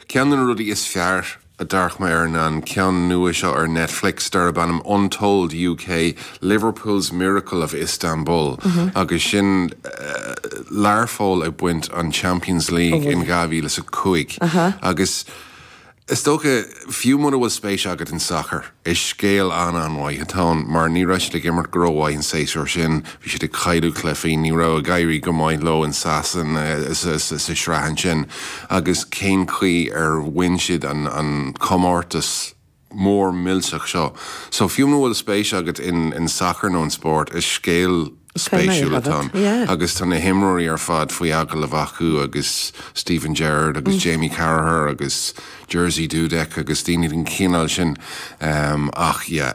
Ceann de na rudaí is fearr a d'amharc mé air ná an ceann nua seo ar Netflix darb ainm Untold UK, Liverpool's Miracle of Istanbul agus sin Learpholl ag baint an Champions League in 2005 agus Is dócha, fiú muna bhfuil spéis agat in sacar, is scéal an-an-mhaith atá ann mar ní raibh siad ag imirt go rómhaith an séasúr sin, bhí siad ag cailleadh cluichí, ní raibh ag éirí go maith leo in Sasana sa sraith ansin agus cén chaoi ar bhain siad an comórtas mór millteach seo. So fiú muna bhfuil spéis agat in sacar nó in spórt, is scéal spéisiúil atá ann agus tá na himreoirí ar fad faoi agallamh acu agus Steven Gerrard agus Jamie Carragher agus Jerzy Dudek agus daoine den chineál sin ach yeah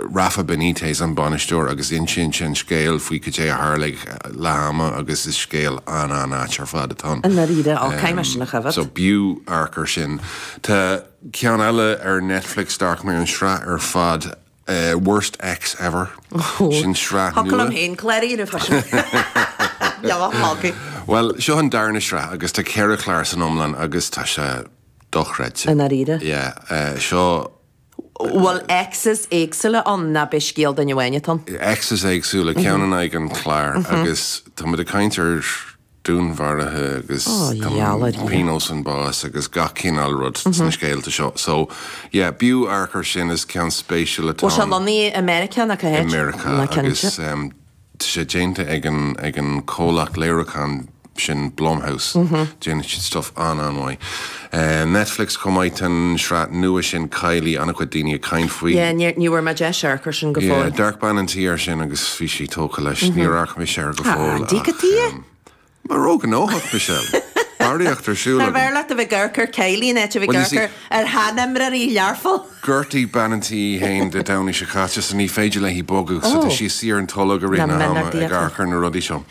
Rafa Benitez an bainisteoir agus insíonn sé an scéal faoi cad é a tharla ag leath ama agus is scéal an-an-ait ar fad atá ann. I ndáiríre, ó caithfidh mé sin a choimhéad. So b'fhiú amharc ar sin. Tá ceann eile ar Netflix, d'amharc mé an sraith ar fad. Worst Ex Ever. Sin sraith nua. Thiocfadh liom féin clár a dhéanamh fá sin. Bhuel, seo an darna sraith agus tá 4 chlár san iomlán agus tá sé dochreidte. I ndáiríre? Yeah. Seo. Bhfuil exes éagsúla ann nó ab é scéal duine amháin atá ann? Exes éagsúla, ceann in aghaidh an chláir agus tá muid ag caint ar dúnmharuithe agus pionós an bás agus gach cineál rud sna scéalta seo. So, yeah, b'fhiú amharc ar sin, is ceann spéisiúil atá ann. Bhfuil sé lonnaithe i Meiriceá nó cá háit? I Meiriceá agus tá sé déanta ag an ag an comhlacht léiriúcháin sin Blumhouse. Déanann siad stuff an-an-mhaith. Netflix chomh maith, tá an sraith nua sin Kylie, an-chuid daoine ag caint faoi. Yeah, ní bhfuair mé deis amharc ar sin go fóill. Yeah, d'amharc bean an tí air sin agus bhí sí tógtha leis. Níor amharc mise air go fóill ach. Díocadh tuighe? Mar róghnóthach, Michelle. Barraíocht ar siúl agam. Nárbh fhearr leat a bheith ag amharc ar Kylie in áit a bheith ag amharc ar sheanimreoirí Learpholl? Ghortaigh bean an tí í féin Dé Domhnaigh seo caite so ní féidir léi bogadh so tá sí suí ar an tolg i rith na hama ag amharc ar na rudaí seo.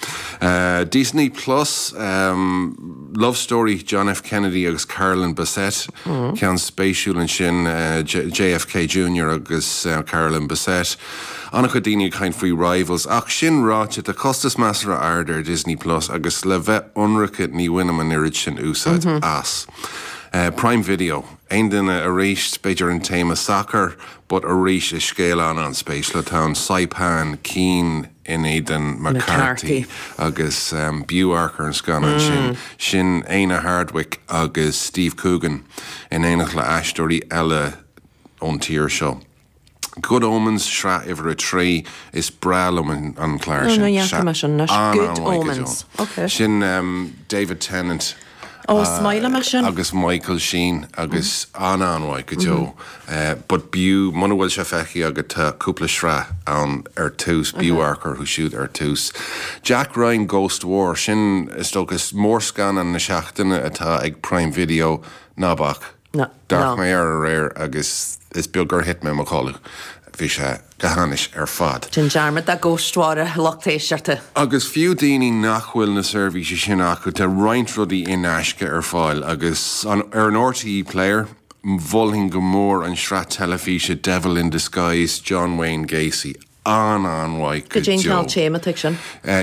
Disney Plus, Love Story, John F Kennedy agus Carolyn Bessette, ceann spéisiúil ansin, JFK Junior agus Carolyn Bessette. An-chuid daoine ag caint faoi Rivals ach sin ráite tá costas measartha ard ar Disney Plus agus le bheith ionraice ní bhainim an oiread sin úsáid as. Prime Video. Aon duine arís, b'fhéidir an téama sacair, but arís is scéal an-an-spéisiúil atá ann, Saipan, Keane in éadan McCarthy agus b'fhiú amharc ar an scannán sin. Sin Éanna Hardwicke agus Steve Coogan in éineacht le aisteoirí eile ón tír seo. Good Omens, sraith uimhir 3, is breá liom an clár sin. Ní fhaca mé sin anois. Good Omens. Ok. Sin David Tennant. Ó, is maith liom é sin. Agus Michael Sheen agus an-an-mhaith go deo. But b'fhiú, muna bhfuil sé feicthe agat, tá cúpla sraith ann ar tús, b'fhiú amharc orthu siúd ar tús. Jack Ryan Ghost War, sin is dócha mórscannán na seachtaine atá ag Prime Video, ná bac. D'amharc mé air aréir agus is beag gur thit mé i mo chodladh. Bhí sé go hainnis ar fad. Déan dearmad de Ghost War a lucht éisteachta. Agus fiú daoine nach bhfuil na seirbhísí sin acu, tá roinnt rudaí in aisce ar fáil agus ar an RTÉ Player, mholfainn go mór an sraith teilifíse Devil in Disguise, John Wayne Gacy. an-an-mhaith go deo. Cad é an cineál téama atá ag sin?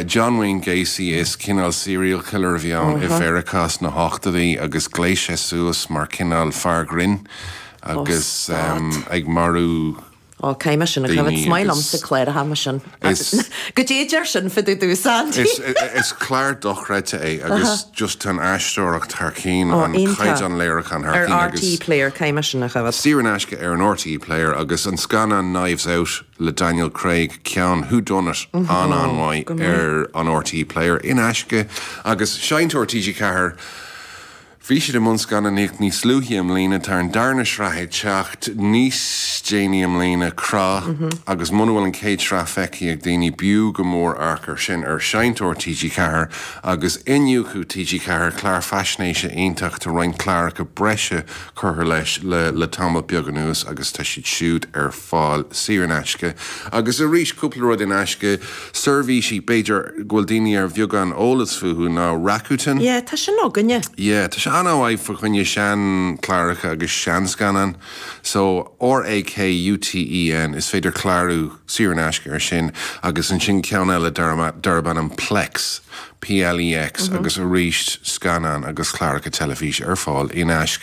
John Wayne Gacy, is cineál serial killer a bhí ann i Mheiriceá sna hochtóidí agus ghléas sé suas mar cineál fear grinn agus ag marú Ó, caithfidh mé sin a choimhéad. Is maith liomsa cláracha mar sin. Cad é a deir sin fá dtaobh domhsa, Andy. Is clár dochreidte é agus just tá an aisteoireacht thar cinn, an caighdeán léiriúcháin thar cinn agus. Ar RTÉ Player, caithfidh mé sin a choimhéad. Saor in aisce ar an RTÉ Player agus an scannán Knives Out le Daniel Craig, ceann whodunit an-an-mhaith ar an RTÉ Player in aisce agus Seinnteoir TG4. Bhí siad i mbun scannánaíocht níos luaithe i mbliana, tá an darna sraith ag teacht níos déanaí i mbliana, Crá, agus muna bhfuil an chéad sraith feicthe ag daoine, b'fhiú go mór amharc air sin ar Seinnteoir TG4 agus Iniúchadh TG4, clár faisnéise iontach, tá roinnt cláracha breise curtha leis le tamall beag anuas agus tá siad siúd ar fáil saor in aisce. Agus arís, cúpla rud in aisce, seirbhísí, b'fhéidir, go bhfuil daoine ar bheagán eolas fúthu ná Rakuten. Yeah, tá sin againne. Yeah, tá sé an-mhaith fá choinne seanchláracha agus seanscannáin. So, R-A-K-U-T-E-N, is féidir clárú saor in aisce ar sin agus ansin ceann eile darb ainm Plex, P-L-E-X, agus arís scannáin agus cláracha teilifíse ar fáil in aisce.